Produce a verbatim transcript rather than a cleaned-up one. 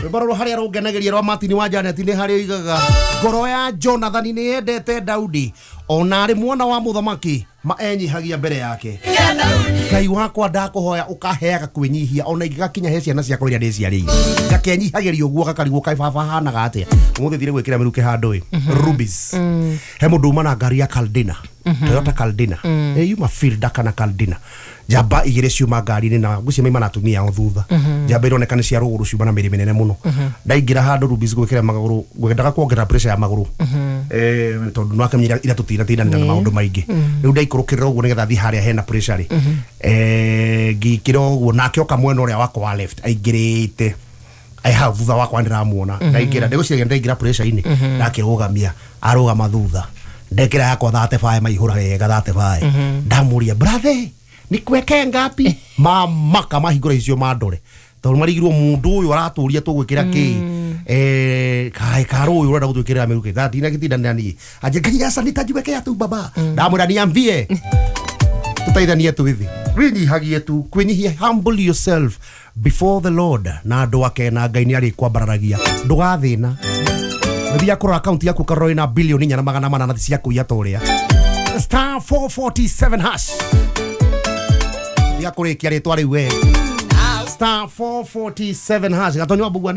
Rwĩmbo rũrũ harĩa rũngenagĩria rwa Martin wa Janet nĩ harĩa oigaga ngoro ya Jonathan nĩ yendete Daudi ona arĩ mwana wa mũthamaki ma enyihagia mbere yake. Ngai wakwa ndakũhoya ũkaheaga kwĩnyihia ona ingĩgakinya he ciana ciakwa iria ndĩciarĩire ngakenyihagĩria ũguo gakarigwo kaĩ baba hanaga atĩa. Ũmũthĩ thire gwĩkĩra mĩrukĩ handũ ĩ Rubis he mũndũ uma na ngari ya Caldina, Toyota Caldina, ĩ yuma Fielder kana Caldina, njamba igĩrĩ ciuma ngari-inĩ na ngwĩciria maima na atumia ao thutha. Njamba ironeka nĩ cia rũgũrũ ciuma na mĩrĩ mĩnene mũno. Ndaingĩra handũ Rubis gwĩkĩra magũrũ ngwendaga kuongerera pressure ya magũrũ eh tondũ no akamenya ira tũtinatindanĩra na maũndũ maingĩ. Rĩu ndaikũrũkĩrĩra ũguo nĩgetha thiĩ harĩa hena pressure rĩ, eh ngĩkĩra ũguo nake oka mwena ũrĩa wakwa wa left aingĩrĩte ai hau thutha wakwa ndĩramuona ndaingĩra ndĩgũciria ndaingĩra pressure-inĩ ndakĩrũgamia arũgama thutha ndekĩra yakwa thate bae maihũra wega thate bae ndamũria brother nikuwekee ngapi mamaka mahingũra icio mandore tondũ marigirwo mũndũ ũyũ aratũria tũgwĩkĩra kĩ eh kaĩ karũ ũyũ ũrenda gũtwĩkĩrĩra mĩrukĩ thaa ndinagĩtindanĩra niĩ anje ngai aca nitajiwekea tu baba ndamwĩra niambie tũteithanie twithi wĩnyihagie tu kwĩnyihia, humble yourself before the Lord na andũ ake na Ngai nĩ arĩkwambararagia ndũgathĩna. Nĩthiaga kũrora akaunti yaku ũkarora wĩna bilioni inya na magana manana cia kũiya ta ũrĩa star four forty-seven hash ya kũrĩkia rĩtwa rĩu we star four forty-seven hash Gatonyo wa Mbugua.